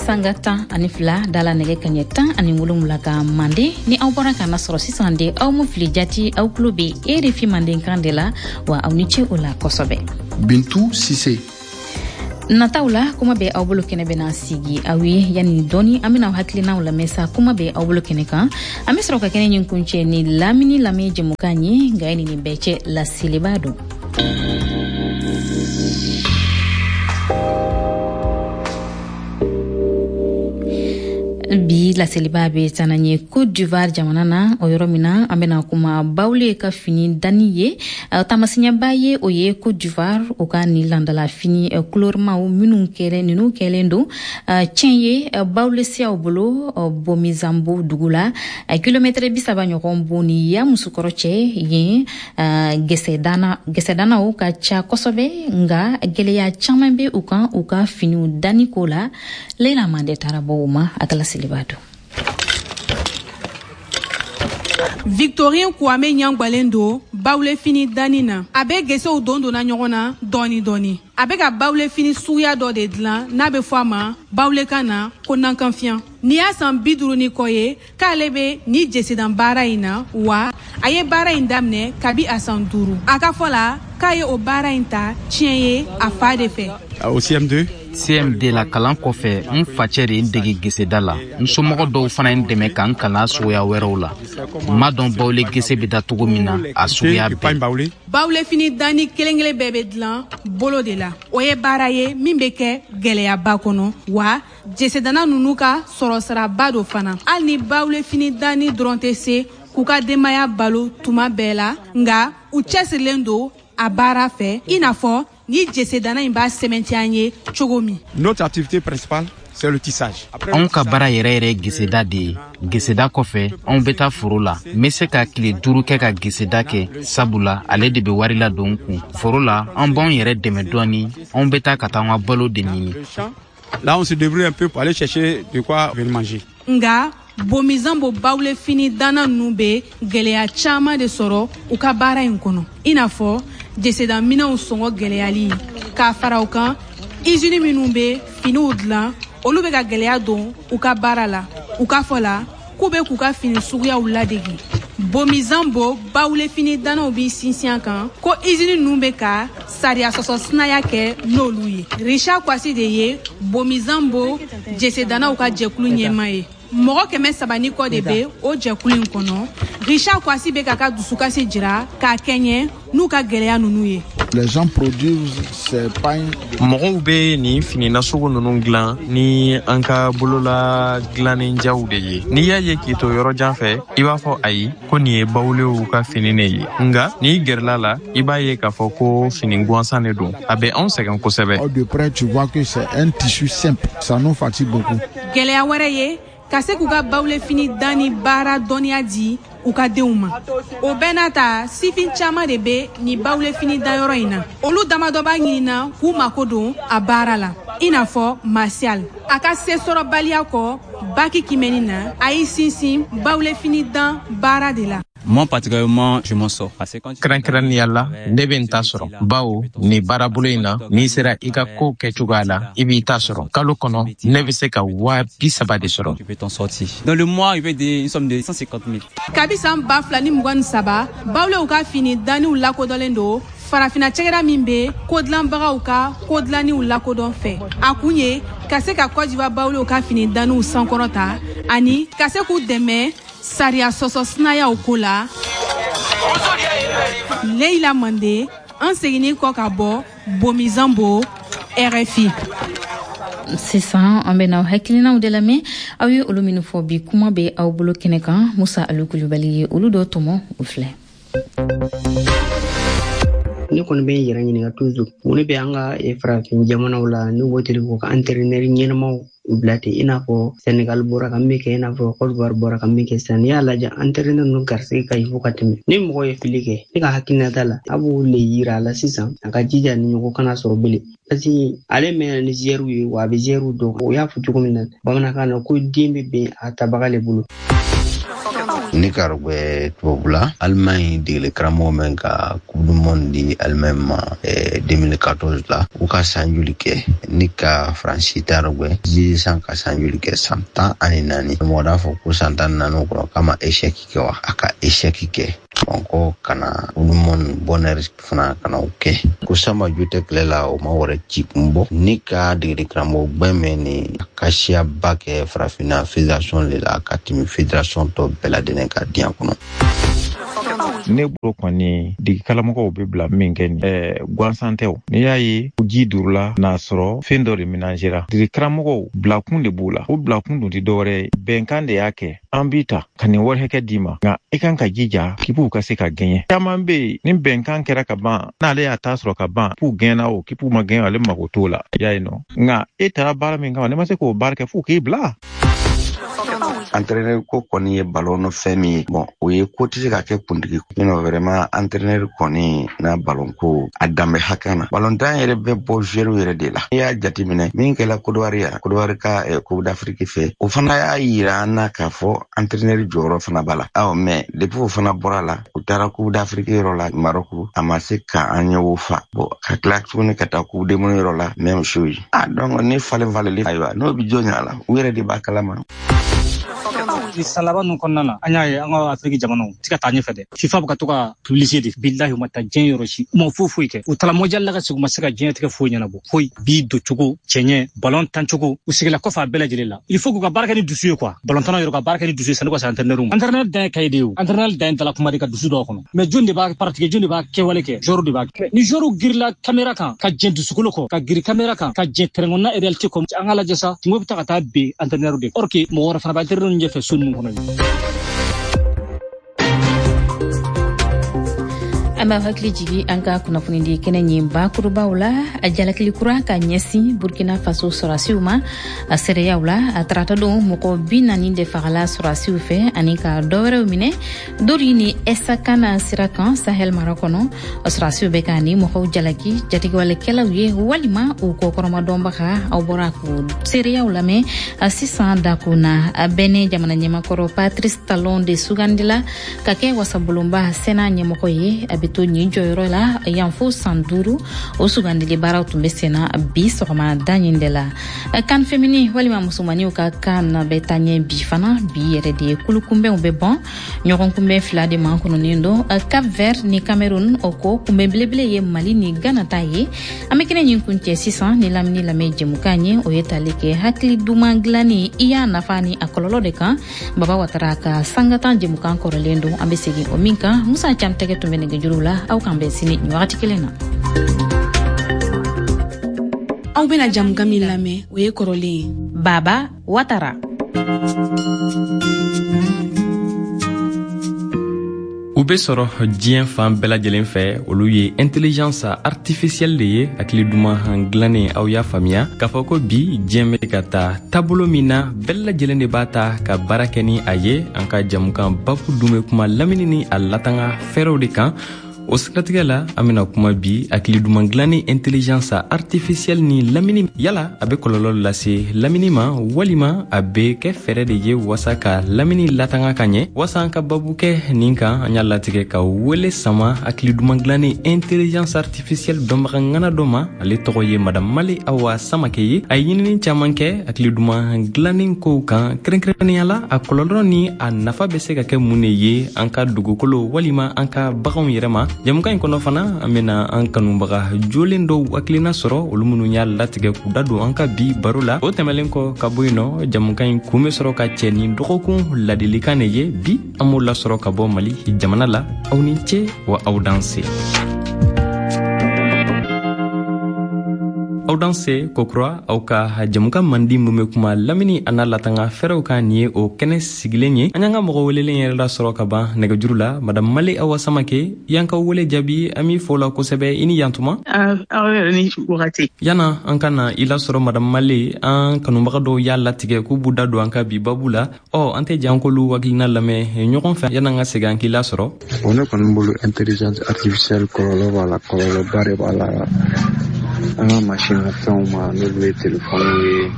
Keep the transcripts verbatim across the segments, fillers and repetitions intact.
Sanga tan ani fila dala nɛgɛ kaɲɛ tan ani wolonwula ka Manden. Ni aw bɔra k'an lasɔrɔ sisan de, aw mu fili jati, aw tulo bɛ R F I Mandenkan de la wa. Aw ni ce o la kosɛbɛ. Bintu Sise. Nataw la, kuma bɛ aw bolo kɛnɛ bɛna sigi aw ye. Yanni dɔɔni, an bɛna aw hakilinaw lamɛn sa kuma bɛ aw bolo kɛnɛ kan. An bɛ sɔrɔ ka kɛnɛ ɲin kuncɛ ni lamini lamɛn jɛmukan ye. Nka ye nin bɛɛ cɛ, laseliba don. Bi laseliba bɛ taa n'an ye Cote d'Ivoire jamana na, o yɔrɔ min na an bɛna kuma Bawule ka fini danni ye. Taamasiyɛnba ye o ye Cote d'Ivoire, o ka nin landala fini kulorimaw minnu kɛlen, ninnu kɛlen don tiɲɛ ye Bawule siyaw bolo Bomizanbo dugu la, kilomɛtɛrɛ bi saba ɲɔgɔn bo ni Yamusukɔrɔ cɛ. Yen gɛsɛdana gɛsɛdanaw ka ca kosɛbɛ, nka gɛlɛya caman bɛ u kan u ka finiw danni ko la. Leila Mande taara bɔ o ma, a ka laseliba don. Victorine Kwame ɲangbalen don bawule fini danni na. A bɛ gesew don donna ɲɔgɔn na dɔɔni dɔɔni. A bɛ ka bawule fini suguya dɔ de dilan n'a bɛ fɔ a ma bawulekan na ko nankanfiyan. Nin y'a san bi duuru ni kɔ ye k'ale bɛ ni jesedan baara in na wa. A ye baara in daminɛ kabi a san duuru. A ka fɔ la k'a ye o baara in ta tiɲɛ ye a fa de fɛ. Au C M deux. C M D la kalan kɔfɛ, n facɛ de ye n dege geseda la. N somɔgɔ dɔw fana ye n dɛmɛ ka n kalan suguya wɛrɛw la. N m'a dɔn bawule gese bɛ da cogo min na, a suguya bɛɛ. Bawule fini danni kelen kelen bɛɛ bɛ dilan bolo de la. O ye baara ye min bɛ kɛ gɛlɛyaba kɔnɔ wa. Jesedana ninnu ka sɔrɔsiraba don fana. Hali ni bawule fini danni dɔrɔn tɛ se k'u ka denbaya balo tuma bɛɛ la, nka u cɛsirilen don a baara fɛ, i n'a fɔ ni jesedana in b'a sɛmɛntiya an ye cogo min. Notre activité principale, c'est le tissage. Anw ka baara yɛrɛ yɛrɛ ye geseda de ye. Geseda kɔfɛ, anw bɛ taa foro la. N bɛ se ka tile duuru kɛ ka geseda kɛ, sabula ale de bɛ wari ladon n kun. Foro la, an b'anw yɛrɛ dɛmɛ dɔɔni. Anw bɛ taa ka taa an ka balo de ɲini. Là, on se débrouille un peu pour aller chercher de quoi venir manger. Nka Bomizanbo bawule fini danna ninnu bɛ gɛlɛya caman de sɔrɔ u ka baara in kɔnɔ, i n'a fɔ jesedanminɛnw sɔngɔ gɛlɛyali. K'a fara o kan, izini minnu bɛ finiw dilan, olu bɛ ka gɛlɛya don u ka baara la. U ka fɔ la k'u bɛ k'u ka fini suguyaw ladege. Bomizanbo bawule fini dannaw b'i sinsin a kan ko izini ninnu bɛ ka sariya sɔsɔ sinaya kɛ n'olu ye. Richard Kwasi de ye Bomizanbo jesedannaw ka jɛkulu ɲɛmaa ye. Mɔgɔ kɛmɛ saba ni kɔ de bɛ o jɛkulu in kɔnɔ. Richard Kwasi bɛ k'a ka dusukasi jira k'a kɛɲɛ n'u ka gɛlɛya ninnu ye. Les gens produisent ces pagnes. Mɔgɔw bɛ nin fini nasugu ninnu dilan ni an ka bolola dilannen jaw de ye. N'i y'a ye k'i to yɔrɔ jan fɛ, i b'a fɔ ayi, ko nin ye bawulew ka fini ne ye. Nka n'i gɛrɛla la, i b'a ye k'a fɔ ko fini gansan de don. A bɛ anw sɛgɛn kosɛbɛ. De près, tu vois que c'est un tissu simple. Ça nous fatigue beaucoup. Gɛlɛya wɛrɛ ye ka se k'u ka bawule fini danni baara dɔnniya di u ka denw ma. O bɛɛ n'a ta, sifin caman de bɛ nin bawule fini danyɔrɔ in na. Olu damadɔ b'a ɲinina k'u mako don a baara la, i n'a fɔ Martial. A ka sesɔrɔbaliya kɔ baki kimɛni na, a y'i sinsin bawule fini dan baara de la. Moi, particulièrement, je m'en sors. Parce que quand tu Kɛrɛnkɛrɛnnenya la, ne bɛ n ta sɔrɔ, bawo nin baarabolo in na, n'i sera i ka kow kɛcogoya la, i b'i ta sɔrɔ. Kalo kɔnɔ, ne bɛ se ka waa bi saba de sɔrɔ. Tu peux t'en sortir. Dans le mois, il fait des, une somme de cent cinquante mille. Kabi san ba fila ni mugan ni saba, bawulew ka fini danniw lakodɔnlen don Farafina cɛgɛda min bɛ kodilanbagaw ka kodilanniw lakodɔn fɛ. A kun ye ka se ka Kɔdiwa bawulew ka fini danniw sankɔrɔta ani ka se k'u dɛmɛ sariya sɔsɔ sinayaw ko la. Leila Mande, an seginni kɔ ka bɔ Bomizanbo, R F I. Sisan an bɛna aw hakilinaw de lamɛn, aw ye olu minnu fɔ bi kuma bɛ aw bolo kɛnɛ kan. Musa Alu Kulubali ye olu dɔ tɔmɔ, o filɛ. Ne kɔni bɛ n yɛrɛ ɲininka toujours, mun de bɛ an ka farafin jamanaw la n'u b'o teli k'u ka entraîneur ɲɛnamaw bila ten, i n'a fɔ Senegal bɔra ka min kɛ, i n'a fɔ Côte d'Ivoire bɔra ka min kɛ sisan? N'i y'a lajɛ, entraîneur ninnu garisɛgɛ ka ɲi fo ka tɛmɛ. Ni mɔgɔ ye fili kɛ, ne ka hakilinata la, a b'o le yira a la sisan, a ka jija ni ɲɔgɔn kana sɔrɔ bilen, parce que ale mɛnna ni joueur ye wa, a bɛ joueur dɔn. O y'a fɔ cogo min na bamanankan na ko den bɛ bɛn a tabaga le bolo. Ne ka rɔgbɛ tubabula Allemagne degeli karamɔgɔ min ka Coupe du monde di Allemagne ma deux mille quatorze la, u ka san joli kɛ? Ni ka Faransi ta rɔgbɛ Zidane ka san joli kɛ? San tan ani naani. Mɔgɔ t'a fɔ ko san tan ni naani kɔnɔ k'a ma échec kɛ wa? A ka échec kɛ. Bamakɔ kana Coupe du monde bonheur fana kana o kɛ. Ko Samba jo tɛ kɛlɛ la, o ma wɛrɛ ci kun bɔ. Ni ka degeli karamɔgɔ gbɛn mɛn ni ka siyaba kɛ farafinna fédération de la ka tɛmɛ fédération tɔ bɛɛ lajɛlen ka diɲɛ kɔnɔ. Ne bolo kɔni degekaramɔgɔw bɛ bila min kɛ nin ɛɛ gansan tɛ o. N'i y'a ye ji durula n'a sɔrɔ fɛn dɔ de ménagera, degekaramɔgɔw bilakun de b'u la. O bilakun dun tɛ dɔwɛrɛ ye, bɛnkan de y'a kɛ. An b'i ta ka nin wari hakɛ d'i ma, nka i kan ka jija k'i b'u ka se ka gɛɲɛ. Caman bɛ yen ni bɛnkan kɛra ka ban, n'ale y'a ta sɔrɔ ka ban, k'u gɛnna o k'i ma gɛn, ale mago t'o la. I y'a ye nɔ, nka e taara baara min kama, ne ma se k'o baara kɛ f'u k'i bila. Entraîneur ko kɔni ye ballon fɛn min ye, bon o ye ko tɛ se ka kɛ kuntigi. Sinon vraiment entraîneur kɔni n'a ballon ko a danbe hakɛ na, ballon tan yɛrɛ bɛ bɔ joueur yɛrɛ de la. N'i y'a jateminɛ min kɛla Côte d'Ivoire yan, Côte d'Ivoire ka Coupe d'Afrique fɛ, o fana y'a yira an na k'a fɔ entraîneur jɔyɔrɔ fana b'a la. Awɔ, mais depuis o fana bɔra la, u taara Coupe d'Afrique yɔrɔ la Maroc, a ma se ka an ɲɛ o fa. Bon ka tila tuguni ka taa Coupe du monde yɔrɔ la, même chose. Ah donc ni falen falenli, ayiwa n'o bɛ jɔn ɲa la, u yɛrɛ de b'a kalama. Ni san laban ninnu kɔnɔna na, an y'a ye an ka Afiriki jamanaw ti ka taa ɲɛfɛ dɛ. FIFA bɛ ka to ka publicité de, bilahi u ma taa diɲɛ yɔrɔ si, u ma foyi foyi kɛ. U taara mondial la ka segin, u ma se ka diɲɛ tigɛ foyi ɲɛnabɔ. Foyi bi don cogo, cɛɲɛ, ballon tan cogo, u sigila kɔfɛ a bɛɛ lajɛlen la. Il faut k'u ka baara kɛ ni dusu ye quoi. Ballon tannaw yɛrɛ ka baara kɛ ni dusu ye sanni ka se entraîneur ma. Entraîneur dan ye cahier de ye o. Entraîneur dan ye dala kuma de ka dusu dɔw kɔnɔ. Mais jɔn de b'a pratiquer, jɔn de b'a kɛwale kɛ, joueur de b'a kɛ. Ni joueur girila caméra kan ka jɛn dusukolo kɔ, ka giri caméra kan ka jɛn terrain kɔnɔna réalité kɔ, an ka lajɛ sa, kungo bɛ taa ka taa ben entraîneur de. Or que mɔgɔ wɛrɛ fana b'a entraîneur ɲɛfɛ so ninnu kɔnɔ. An b'a hakili jigi an ka kunnafonidi kɛnɛ ɲin bakurubaw la. A jalakili kura ka ɲɛsin Burkina Faso sɔrɔsiw ma a seereyaw la. A tarata don mɔgɔ bi naani de fagala sɔrɔsiw fɛ ani ka dɔ wɛrɛw minɛ Dori ni Esakana sira kan Sahel mara kɔnɔ. Sɔrɔsiw bɛ ka ni mɔgɔw jalaki jatigɛwalekɛlaw ye walima u kɔkɔrɔmadɔnbaga. Aw bɔra k'o seereyaw lamɛn sisan dako na. A bɛnɛ jamana ɲɛmakɔrɔ Patrice Talon de sugandila ka kɛ wasabulonba Sénat ɲɛmɔgɔ ye. A bɛ to nin jɔyɔrɔ la yan fo san duuru. O sugandili baaraw tun bɛ senna bi sɔgɔma da ɲin de la. Kan femini walima musomaninw ka kan bɛ taa ɲɛ bi fana. Bi yɛrɛ de ye kulukunbɛnw bɛ bɔn ɲɔgɔn kunbɛn fila de man kɔnɔnen don, Cap Vert ni Cameroun. O kɔ kunbɛn belebele ye Mali ni Ghana ta ye. An bɛ kɛnɛ ɲin kun cɛ sisan ni lamini lamɛn jɛmukan ye, o ye tali kɛ hakili duman dilanni i y'a nafa ni a kɔlɔlɔ de kan. Baba Watara ka sangatan jɛmukan kɔrɔlen don, an bɛ segin o min kan. Musa Cam tɛgɛ tun bɛ nɛgɛjuru la. Aw k'an bɛn sini nin wagati kelen na. Aw bɛna jamukan min lamɛn, o ye kɔrɔlen ye. Baba Watara. U bɛ sɔrɔ diɲɛ fan bɛɛ lajɛlen fɛ. Olu ye intelligence artificielle de ye, hakili duman dilannen. Aw y'a faamuya k'a fɔ ko bi diɲɛ bɛ ka taa taabolo min na, bɛɛ lajɛlen de b'a ta ka baara kɛ ni a ye. An ka jamukan babu dun bɛ kuma lamini ni a latanga fɛɛrɛw de kan. O siratigɛ la, an bɛna kuma bi hakili duman dilanni intelligence artificielle ni lamini. Yala a bɛ kɔlɔlɔ lase lamini ma walima a bɛ kɛ fɛɛrɛ de ye wasa ka lamini latanga ka ɲɛ? Wasa an ka babu kɛ nin kan, an y'a latigɛ ka wele sama hakili duman dilanni intelligence artificielle dɔnbaga ŋana dɔ ma. Ale tɔgɔ ye Madame Male Awa Samake ye. A ye ɲinini caman kɛ hakili duman dilanni kow kan, kɛrɛnkɛrɛnnenya la a kɔlɔlɔ ni a nafa bɛ se ka kɛ mun de ye an ka dugukolo walima an ka baganw yɛrɛ ma. Jamukan in kɔnɔ fana, an bena an kanubaga jolen dɔw hakilina sɔrɔ, olu minnu y'a latigɛ k'u da don an ka bi baro la. O tɛmɛlen kɔ ka bɔ yen nɔ, jamukan in kun bɛ sɔrɔ ka cɛ ni dɔgɔkun ladilikan de ye. Bi an b'o lasɔrɔ ka bɔ Mali jamana la. Aw ni ce wa aw danse. Aw danse kokura, aw ka jamukan mandi min bɛ kuma lamini a n'a latanga fɛɛrɛw kan, nin ye o kɛnɛ sigilen ye. An y'an ka mɔgɔ welelen yɛrɛ lasɔrɔ ka ban nɛgɛjuru la. Madame Male Awa Samake, y'an ka wele jaabi, an b'i fo la kosɛbɛ. I ni yantuma. Aw yɛrɛ ni wagati. Yana an ka na i lasɔrɔ Madame Male, an kanubaga dɔw y'a latigɛ k'u b'u da don an ka bi babu la. Ɔ an tɛ jan k'olu hakilina lamɛn ɲɔgɔn fɛ yan'an ka segin an k'i lasɔrɔ. O ne kɔni bolo intelligence artificielle kɔlɔlɔ b'a la, kɔlɔlɔba de b'a la. An ka mansin fɛnw ma, n'olu ye telefɔniw ye,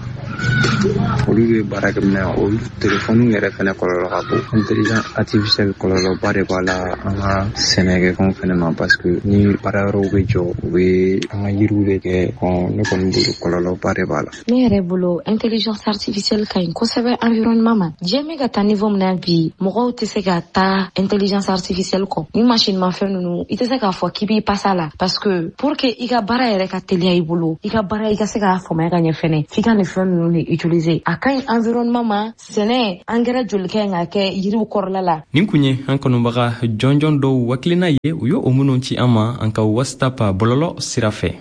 Olu ye baarakɛminɛn, olu telefɔniw yɛrɛ fɛnɛ kɔlɔlɔ ka bon. Intelligence artificielle kɔlɔlɔba de b'a la an ka sɛnɛkɛfɛnw fɛnɛ ma, parce que ni baarayɔrɔw bɛ jɔ, u bɛ an ka yiriw de kɛ. Ne kɔni bolo kɔlɔlɔba de b'a la. Ne yɛrɛ bolo intelligence artificielle ka ɲi kosɛbɛ environnement ma. Diɲɛ bɛ ka taa niveau min na bi, mɔgɔw tɛ se ka taa intelligence artificielle kɔ. Ni machine ma fɛn ninnu, i tɛ se k'a fɔ k'i b'i pasa la, parce que pour que i ka baara yɛrɛ ka teliya i bolo, i ka baara i ka se k'a faamuya ka ɲɛ fɛnɛ, f'i ka nin fɛn ninnu de utiliser. A ka ɲi environnement ma, sɛnɛ engrais joli ka ɲi ka kɛ yiriw kɔrɔla la. Nin kun ye an kanubaga jɔnjɔn dɔw hakilina ye, u ye o minnu ci an ma an ka WhatsApp bɔlɔlɔ sira fɛ.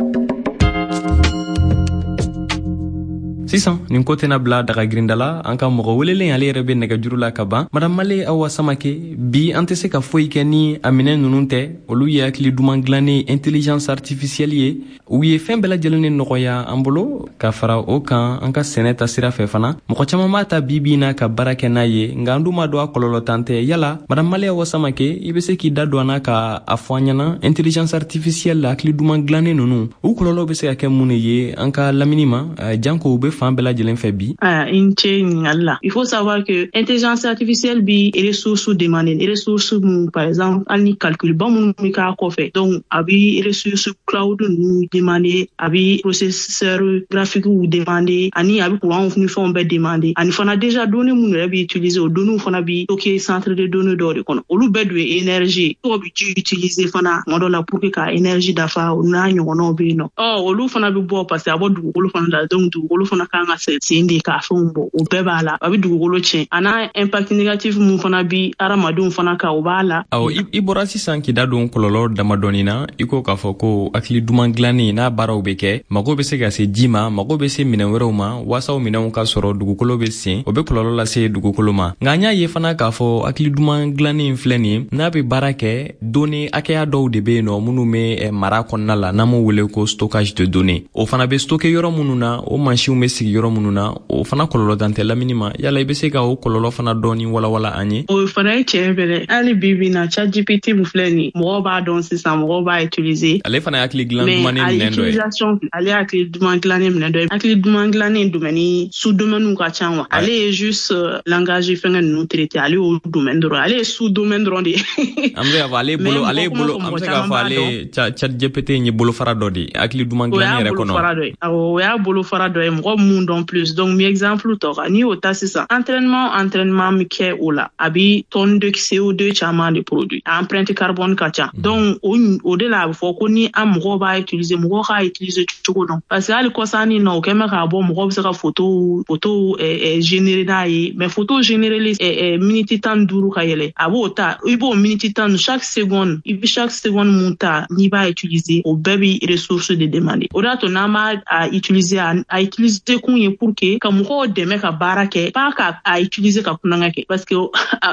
Sisan nin ko tɛna bila daga girinda la, an ka mɔgɔ welelen ale yɛrɛ bɛ nɛgɛjuru la ka ban. Madame Male Awa Samake, bi an tɛ se ka foyi kɛ ni a minɛn ninnu tɛ. Olu ye hakili duman dilannen intelligence artificielle ye, u ye fɛn bɛɛ lajɛlen de nɔgɔya an bolo. Ka fara o kan, an ka sɛnɛ ta sira fɛ fana, mɔgɔ caman b'a ta bi bi in na ka baara kɛ n'a ye, nka an dun b'a dɔn a kɔlɔlɔ tan tɛ. Yala Madame Male Awa Samake, i bɛ se k'i da don an na ka a fɔ an ɲɛna intelligence artificielle hakili duman dilannen ninnu, u kɔlɔlɔ bɛ se ka kɛ mun de ye an ka lamini ma, janko u bɛ fan bɛɛ lajɛlen fɛ bi? Ah, i ni ce ɲininkali la. Il faut savoir que intelligence artificielle bi ressources demander, ressources mun, par exemple hali ni calcul ba minnu bɛ k'a kɔfɛ, donc a bi ressources cloud ninnu demander, a bi processeur graphique demander, ani a bi courant ni fɛnw bɛɛ demander, ani fana déjà données minnu yɛrɛ bi utiliser, o données fana bi stocker centre de données dɔw de kɔnɔ, olu bɛɛ dun ye énergie. Dɔw bi ji utiliser fana tuma dɔ la pour que ka énergie dafa, o n'a ɲɔgɔnnaw bɛ yen nɔ. Ɔ olu fana bi bɔ parce que a bɔ dugukolo fana la, donc dugukolo fana kan ka sen de k'a fɛnw bɔ, o bɛɛ b'a la, a bɛ dugukolo tiɲɛ. A n'a impact négatif mun fana bi hadamadenw fana kan, o b'a la. Awɔ, i bɔra sisan k'i da don kɔlɔlɔ damadɔni na. I ko k'a fɔ ko hakili duman dilannen n'a baaraw bɛ kɛ, mago bɛ se ka se ji ma, mago bɛ se minɛn wɛrɛw ma waasa o minɛnw ka sɔrɔ, dugukolo bɛ sen, o bɛ kɔlɔlɔ lase dugukolo ma. Nka an y'a ye fana k'a fɔ hakili duman dilannen filɛ nin ye, n'a bɛ baara kɛ, données hakɛya dɔw de bɛ yen nɔ minnu bɛ mara kɔnɔna la, n'an b'o wele ko stockage de données. O fana bɛ stocker yɔrɔ minnu na, o mansinw bɛ sigi yɔrɔ minnu na, o fana kɔlɔlɔ dan tɛ lamini ma. Yala i bɛ se ka o kɔlɔlɔ fana dɔɔni walawala an ye? O fana ye tiɲɛ fɛnɛ. Hali bi bi na, ChatGPT min filɛ nin, mɔgɔw b'a dɔn sisan, mɔgɔw b'a utiliser. Ale fana ye hakili dilan dumannen minɛn dɔ ye. Ale ye hakili duman dilannen minɛn dɔ ye. Hakili duman dilannen domaine sous domaine ka ca wa. Ale ye juste langage fɛngɛ ninnu traiter, ale y'o domaine dɔrɔn, ale ye sous domaine dɔrɔn de ye. An bɛ k'a fɔ ale bolo, ale bolo, an bɛ se k'a fɔ ale ChatGPT ye bolofara dɔ de ye hakili duman dilannen yɛrɛ kɔnɔ. Awɔ, o y'a bolofara dɔ ye, mɔgɔ mun dɔn plus. Donc mi exemple tɔ kan, n'i y'o ta sisan, entraînement entraînement min kɛ o la, a bi tonne de C O deux caman de produit, a empreinte carbone ka ca. Donc o o de la a bɛ fɔ ko ni an mɔgɔw b'a utiliser, mɔgɔw k'a utiliser cogo dɔn, parce que hali kɔsannin na o kɛ mɛ k'a bɔ, mɔgɔw bɛ se ka photo photo générer n'a ye, mais photo générer minute tan ni duuru ka yɛlɛ, a b'o ta, i b'o minute tan, chaque seconde, i bɛ chaque seconde mun ta n'i b'a utiliser, o bɛɛ bi ressource de demander. O de y'a to n'an b'a a utiliser, a utiliser kun ye pour que ka mɔgɔw dɛmɛ ka baara kɛ, pas ka a utiliser ka kulonkɛ kɛ, parce que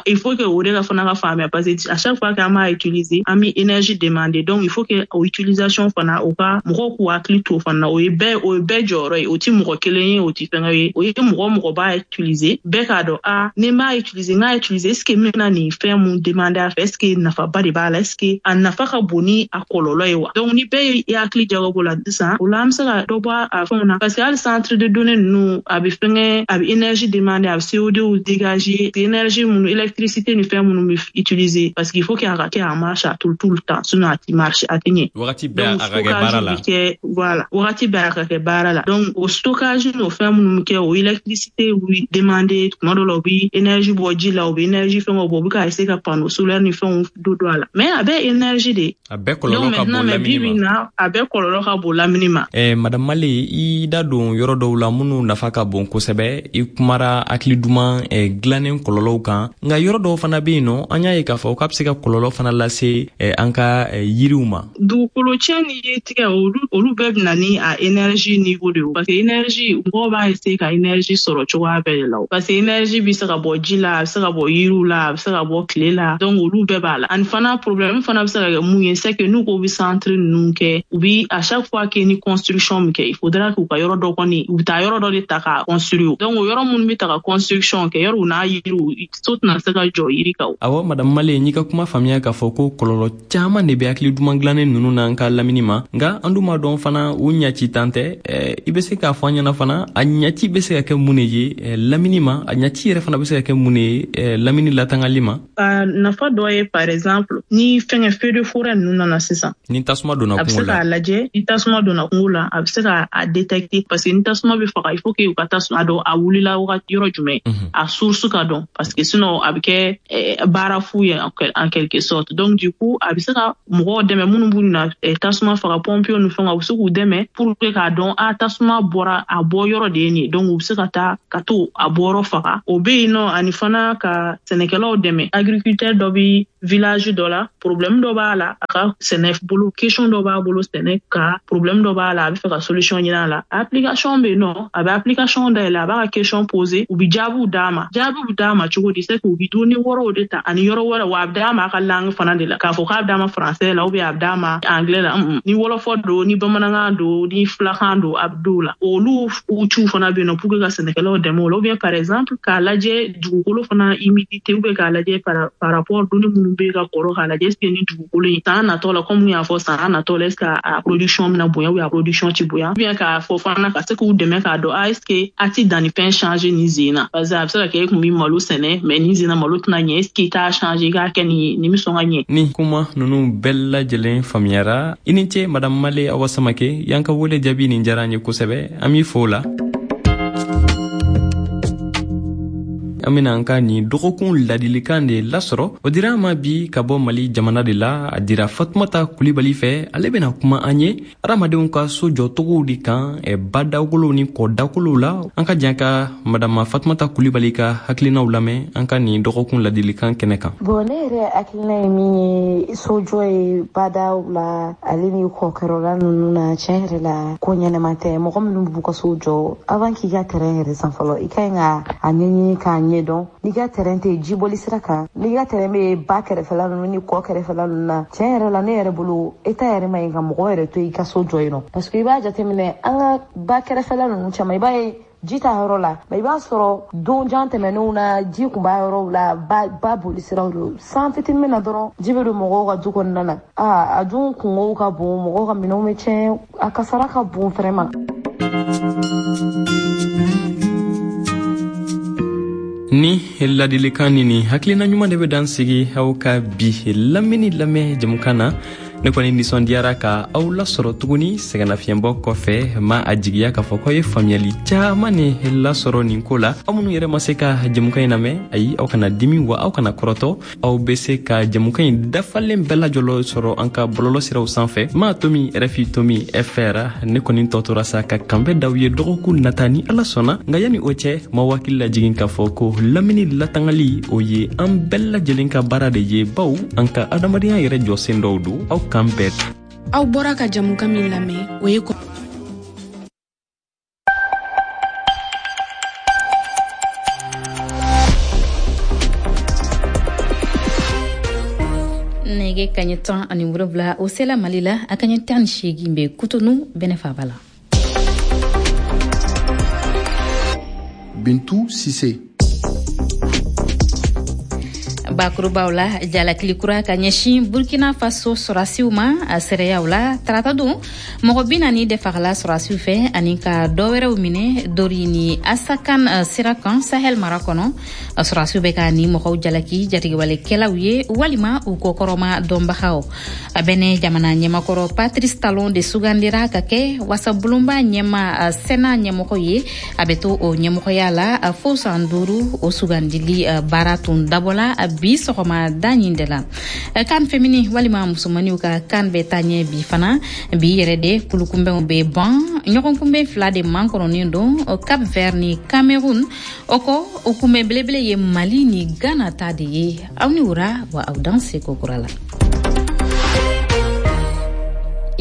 il faut que o de ka fana ka faamuya, parce que à chaque fois qu'an b'a utiliser, an bɛ énergie demander, donc il faut que o utilisation fana o ka mɔgɔw k'u hakili to fana, o ye bɛɛ o ye bɛɛ jɔyɔrɔ ye, o ti mɔgɔ kelen ye, o ti fɛngɛ ye, o ye mɔgɔ mɔgɔ b'a utiliser, bɛɛ k'a dɔn, a ni n b'a utiliser, n k'a utiliser, est ce que n bɛna nin fɛn mun demander a fɛ, est ce que nafaba de b'a la, est ce que a nafa ka bon ni a kɔlɔlɔ ye wa? Donc ni bɛɛ ye hakili jagabɔ la sisan, o la an bɛ se ka dɔ bɔ a fɛnw na, parce que hali centre de données ninnu a bɛ fɛngɛ, a bɛ énergie demander, a bɛ C O deux dégager, énergie minnu, électricité ni fɛn minnu bɛ utiliser, parce qu'il faut qu'il a ka kɛ en marche à tout tout le temps, sinon a ti marche, a ti ɲɛ. Wagati bɛɛ a ka kɛ baara la. Voilà, wagati bɛɛ a ka kɛ baara la. Donc o stockage n'o fɛn minnu bɛ kɛ, o électricité bɛ demander, tuma dɔ la u bɛ énergie bɔ ji la, u bɛ énergie fɛngɛw bɔ, u bɛ ka essayer ka panneau solaire ni fɛnw don don a la, mais a bɛɛ énergie de. A bɛɛ kɔlɔlɔ ka bon lamini ma. A bɛɛ kɔlɔlɔ ka bon lamini ma. Eh, Madame Male, i da don yɔrɔ dɔw la minnu nafa ka bon kosɛbɛ. I kumara hakili duman eh, dilannen kɔlɔlɔw kan, nka yɔrɔ dɔw fana bɛ yen nɔ, an y'a ye k'a fɔ k'a bɛ se ka kɔlɔlɔ fana lase eh, an ka eh, yiriw ma. Dugukolo tiɲɛ ni yiri tigɛ, olu olu bɛɛ bɛ na ni a énergie niveau de ye, parce que énergie, mɔgɔw b'a essayer ka énergie sɔrɔ cogoya bɛɛ de la, parce que énergie bɛ se ka bɔ ji la, a bɛ se ka bɔ yiriw la, a bɛ se ka bɔ tile la, donc olu bɛɛ b'a la. Ani fana problème fana bɛ se ka kɛ mun ye, c'est que n'u ko bɛ centre ninnu kɛ, u bi à chaque fois que ni construction min kɛ, il faudra k'u ka yɔrɔ dɔ kɔni, u bɛ taa yɔrɔ dɔ de ta ka construire. Donc o yɔrɔ minnu bɛ ta ka construction kɛ, yɔrɔ u n'a yiriw, so tɛna se ka jɔ yiri kan. Awɔ, madame Male, n'i ka kuma faamuya k'a fɔ ko kɔlɔlɔ caman de bɛ hakili duman dilannen ninnu na an ka lamini ma, nka an dun b'a dɔn fana u ɲaci tan tɛ. I bɛ se k'a fɔ an ɲɛna fana, a ɲaci bɛ se ka kɛ mun de ye lamini ma, a ɲaci yɛrɛ fana bɛ se ka kɛ mun de ye lamini latangali ma? A nafa dɔ ye, par exemple, ni fɛngɛ feu de forêt ninnu nana sisan, ni tasuma donna kungo la, a bɛ se k'a lajɛ. Ni tasuma donna kungo la, a bɛ se k'a détecter, parce que ni tasuma bɛ faga, il faut que u ka tasuma dɔn a wulila wagati yɔrɔ jumɛn, a source ka dɔn, parce que sinon a bɛ kɛ baara fu ye en quelque sorte. Donc du coup a bɛ se ka mɔgɔw dɛmɛ minnu b'u na tasuma faga, pompiers ni fɛnw, a bɛ se k'u dɛmɛ pour que k'a dɔn a tasuma bɔra a bɔ yɔrɔ de ye nin ye. Donc u bɛ se ka taa ka to a bɔyɔrɔ faga, o bɛ yen nɔ. Ani fana ka sɛnɛkɛlaw dɛmɛ. Agriculteur dɔ bɛ village dɔ la, problème dɔ b'a la a ka sɛnɛ bolo, question dɔ b'a bolo sɛnɛ ka problème dɔ b'a la, a bɛ fɛ ka solution ɲini a la. Application bɛ yen nɔ, a bɛ application dayɛlɛ, a b'a ka question poser, u bɛ jaabiw d'a ma. Jaabiw bɛ d'a ma cogo di? C'est que u bɛ données wɛrɛw de ta ani yɔrɔ wɛrɛ, wa a bɛ d'a ma a ka langue fana de la, k'a fɔ k'a bɛ d'a ma français la ou bien a bɛ d'a ma anglais la, ni wɔlɔfɔ don, ni bamanankan don, ni filakan don, a bɛ d'o la. Olu outils fana bɛ yen nɔ pour que ka sɛnɛkɛlaw dɛmɛ o la, ou bien par exemple k'a lajɛ dugukolo fana humidité, ou bien k'a lajɛ par par rapport données minnu bɛ ka kɔrɔ, k'a lajɛ est-ce que ni dugukolo in san natɔ la, comme y'a fɔ san natɔ la, est-ce que a production bɛna bonya ou bien a production ti bonya, ou bien k'a fɔ fana ka se k'u dɛmɛ k'a dɔn a est-ce que a ti dannifɛn changer nin sen na, parce que a bɛ se ka kɛ e kun bɛ malo sɛnɛ, mais nin sen na malo tɛna ɲɛ, est-ce que i t'a changer i k'a kɛ nin nin bɛ sɔn ka ɲɛ. Ni kuma ninnu bɛɛ lajɛlen faamuyara, i ni ce madame Male Awa Samake, y'an ka wele jaabi nin diyara an ye kosɛbɛ, an b'i fo o la. An bena an ka nin dɔgɔkun ladilikan de lasɔrɔ. O dira an ma bi ka bɔ Mali jamana de la, a dira Fatumata Kulibali fɛ. Ale bena kuma an ye adamadenw ka so jɔcogow de kan badakolow ni kɔdakolow la. An ka jan ka madama Fatumata Kulibali ka hakilinaw lamɛn an ka nin dɔgɔkun ladilikan kɛnɛ kan. Bon, ne yɛrɛ hakilina ye min ye sojɔ ye badaw la ale ni kɔkɛrɔla nunu na, tiɲɛ yɛrɛ la ko ɲɛnɛma tɛ. Mɔgɔ minnu b'u ka so jɔ, avant k'i ka terrain yɛrɛ san fɔlɔ, i ka ɲi ka a ɲɛɲini k'a ɲɛdɔn. N'i ka terrain tɛ jiboli sira kan, n'i ka terrain bɛ ba kɛrɛfɛla ninnu ni kɔ kɛrɛfɛla ninnu na, tiɲɛ yɛrɛ la ne yɛrɛ bolo État yɛrɛ ma ɲi ka mɔgɔ yɛrɛ to i ka so jɔ yen nɔ, parce que i b'a jateminɛ an ka ba kɛrɛfɛla ninnu caman, i b'a ye ji t'a yɔrɔ la, mais i b'a sɔrɔ don jan tɛmɛnenw na ji kun b'a yɔrɔw la, ba ba boli siraw don, san fitinin na dɔrɔn ji bɛ don mɔgɔw ka du kɔnɔna na. Aa, a dun kungow ka bon, mɔgɔw ka minɛnw bɛ tiɲɛ, a kasara ka bon vraiment. Ni ladilikan ni ni hakilina ɲuman de bɛ dan sigi aw ka bi lamini lamɛn jamukan na. Ne kɔni nisɔndiyara ka aw lasɔrɔ tuguni sɛgɛnnafiɲɛbɔ kɔfɛ. Ma a jigiya k'a fɔ k'aw ye faamuyali caaman ne lasɔrɔ nin ko la. Aw minnu yɛrɛ ma se ka jamukan in lamɛn, ayi, aw kana dimi wa aw kana kɔrɔtɔ. Aw be se ka jamukan in dafalen bɛɛ lajɔlɔ sɔrɔ an ka bɔlɔlɔ siraw sanfɛ, ma tomi R F I tomi F R. Ne kɔni tɔ tora sa ka kanbɛ d'aw ye dɔgɔkun nata ni Ala sɔnna. Nka yani o cɛ, ma wakili lajigin k'a fɔ ko lamini latangali o ye an bɛɛ lajɛlen ka baara de ye, baw an ka adamadenya yɛrɛ jɔsen dɔw don. Aw kan bɛɛ. Aw bɔra ka jamukan min lamɛn, o ye nɛgɛ kaɲɛ tan ani wolonwula o sela Mali la, a kaɲɛ tan ni seegin bɛ Kutonu Bɛnɛ faaba la. Bintu Sise. Bakurubaw la, jalakili kura ka ɲɛsin Burkina Faso sɔrɔdasiw ma a seereyaw la tarata don, mɔgɔ bi naani de fagala sɔrɔdasiw fɛ ani ka dɔ wɛrɛw minɛ Dori ni Asakan sira kan Sahel mara kɔnɔ. Sɔrɔdasiw bɛ ka ni mɔgɔw jalaki jatigɛwalekɛlaw ye walima u kɔkɔrɔma dɔnbagaw. A bɛnɛ jamana ɲɛmakɔrɔ Patrice Talon de sugandira ka kɛ wasabulonba ɲɛma Sénat ɲɛmɔgɔ ye. A bɛ to o ɲɛmɔgɔya la fo san duuru. O sugandili baara tun dabɔla bi sɔgɔma da ɲin de la. Kan femini walima musomaniw ka kan bɛ taa ɲɛ bi fana. Bi yɛrɛ de kulukunbɛnw bɛ ban, ɲɔgɔnkunbɛn fila de mankɔrɔnen don, Cap Vert ni Cameroun. O kɔ, o kunbɛn belebele ye Mali ni Ghana ta de ye. Aw ni wura wa aw dan seko kura la.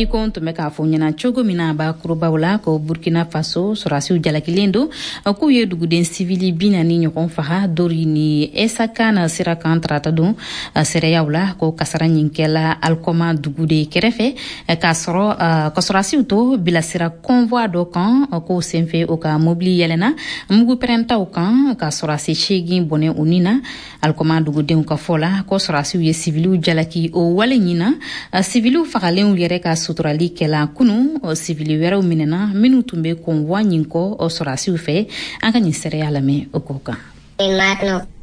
I ko n tun bɛ k'a fɔ ɲɛna cogo min na bakurubaw la, ko Burkina Faso sɔrɔdasiw jalakilen don k'u ye duguden sivili bi naani ɲɔgɔn faga Dori ni Esakana sira kan tarata don. Seereyaw la, ko kasara ɲin kɛla Alikɔma dugu de kɛrɛfɛ, k'a sɔrɔ ka sɔrɔdasiw to bilasira convoi dɔ kan. K'o senfɛ, o ka mobili yɛlɛna mugu pɛrɛntaw kan ka sɔrɔdasi seegin bɔnɛ u ni na. Alikɔma dugudenw ka fɔ la, ko sɔrɔdasiw ye siviliw jalaki o wale ɲin na. Siviliw fagalenw yɛrɛ ka suturali kɛla kunu. Sivili wɛrɛw minɛna minnu tun bɛ convoi ɲin kɔ sɔrɔdasiw fɛ. An ka nin seereya lamɛn o ko kan.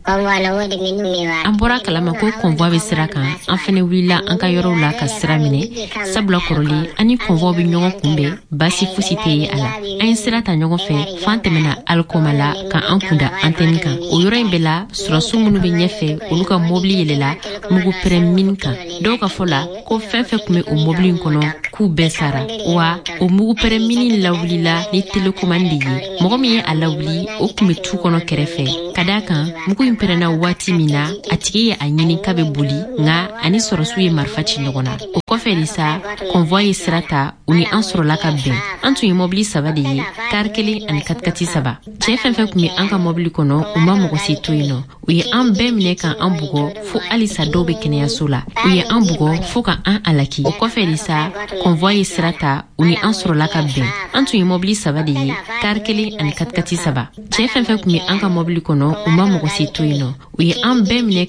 An bɔra kalama ko convoi bɛ sira kan, an fɛnɛ wulila an ka yɔrɔw la ka sira minɛ, sabula kɔrɔlen an ni convoi bɛ ɲɔgɔn kunbɛn, baasi fosi tɛ ye a la. An ye sira ta ɲɔgɔn fɛ fo an tɛmɛna Alikɔma la ka an kunda antɛni kan. O yɔrɔ in bɛɛ la, sɔrɔdasiw minnu bɛ ɲɛfɛ, olu ka mobili yɛlɛla mugu pɛrɛn min kan. Dɔw ka fɔ la, ko fɛn fɛn tun bɛ o mobili in kɔnɔ, k'u bɛɛ sara. Wa o mugu pɛrɛn mini lawulila ni télécommande de ye. Mɔgɔ min ye a lawuli, o tun bɛ tu kɔnɔ kɛrɛfɛ, ka d'a kan mugu in pɛrɛnna waati min na, a tigi ye a ɲini k'a bɛ boli, nka ani sɔrɔdasiw ye marifa ci ɲɔgɔn na. O kɔfɛ de sa, convoi ye sira ta, u ni an sɔrɔla ka bɛn. An tun ye mɔbili saba de ye, kari kelen ani katikati saba. Cɛɛ fɛn fɛn tun bɛ an ka mɔbili kɔnɔ, u ma mɔgɔ si to yen nɔ. U ye an bɛɛ minɛ ka an bugɔ fo halisa dɔw bɛ kɛnɛyaso la. U ye an bugɔ fo ka an alaki. O kɔfɛ de sa, convoi ye sira ta, u ni an sɔrɔla ka bɛn. An tun ye mɔbili saba de ye, kari kelen ani katikati saba. Cɛɛ fɛn fɛn tun bɛ an ka mɔbili kɔnɔ, u ma mɔgɔ si to yen nɔ. U ye an bɛɛ minɛ.